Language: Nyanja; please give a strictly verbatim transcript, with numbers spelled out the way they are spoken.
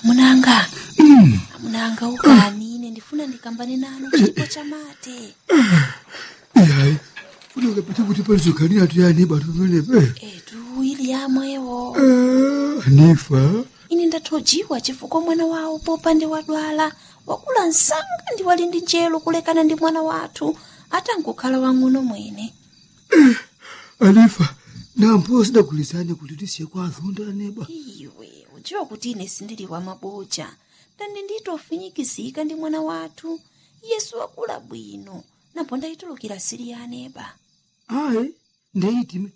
Amunanga, amunanga ukani, ine ndifuna ndikambane nanu chipo chamate. Ihayi, funeka phethe ukuthi palizogani atuyani bantu venepe. Etu ili yamwewo Anifa, ine ndathojiwa chifukwa mwana wawo popande wadwala wakula msanga ndi wali ndi njelo kulekana ndi mwana wathu atangokhala wang'ono mwene. Anifa, nampo sidagulizane kuti tisiye kwa azonda aneba. Iwe udziwa kuti ine sindili wa maboja ndandi nditofinyikizika ndi mwana wathu yesu wakula bwino napo ndayitulukira sili ya aneba. Ayi, ndeyitime,